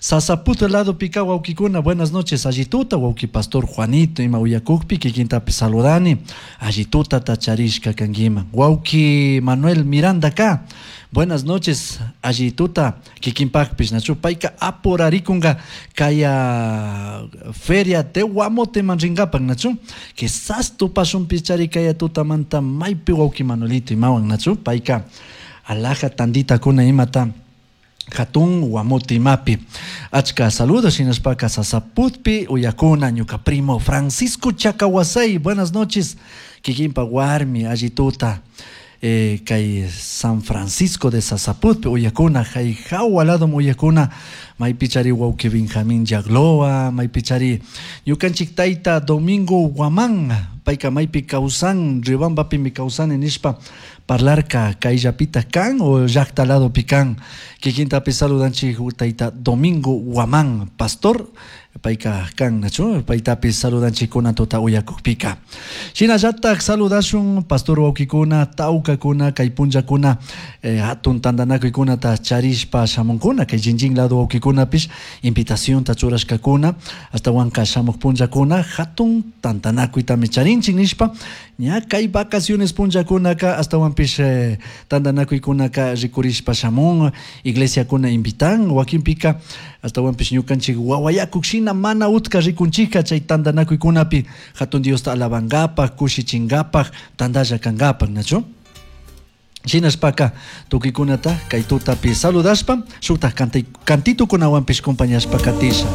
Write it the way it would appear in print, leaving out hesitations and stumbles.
Sasaput ladopika wawkikuna, buenas noches, allituta wawki pastor Juanito ima uyakukpi kikintapi saludani, allitutata charishka kankiman. Wawki Manuel Miranda ka, buenas noches, allituta kikinpakpish, nachu payka apurarikunga kaya feria de Guamoteman rinkapak, nachu quizás tupashunpichari kaya tutamanta maypi wawki Manuelito imawan, nachu payka alhaja tanditakuna imata hatun Guamote imapi. Achka saludos hinashpaka Sasaputpi uyakuna ñuka primo Francisco Chacahuasay, buenas noches, kikinpa warmi allituta kay San Francisco de Sasaputpi uyakuna, hay jawa lado uyakuna, maypichari wawki Benjamín Yagloa, maypichari ñukanchik tayta Domingo Guamán, payka maypi kawsan, Riobambapimi kawsani nishpa parlarka kayllapita kan o llaqta ladopi kan, kikintapi saludanchik tayta Domingo Guamán, pastor, payka kan, nachu, paytapi saludanchikkuna tuta uyakukpika. Shinallatak saludashun pastor wawkikuna, tawkakuna, kay punllakuna hatun tantanakuykunata charishpa shamunkuna, kay chinchín lado wawkikunapish invitacionta churashkakuna, ashtawanka shamuk punllakuna hatun tantanakuytami charinchik nishpa, ña kay vacaciones punllakunaka ashtawanpish tantanakuykunaka rikurishpa shamun, iglesiakuna invitan, wakinpika ashtawanpish ñukanchik wawayakuk shina mana utka rikunchika chay tantanakuykunapi hatun Diosta alabankapak, kushichinkapak, tantalla kankapak, nachu? Shinashpaka tukuykunata kay tutapi saludashpa, shuktak cantitukunawanpish compañashpa katisha.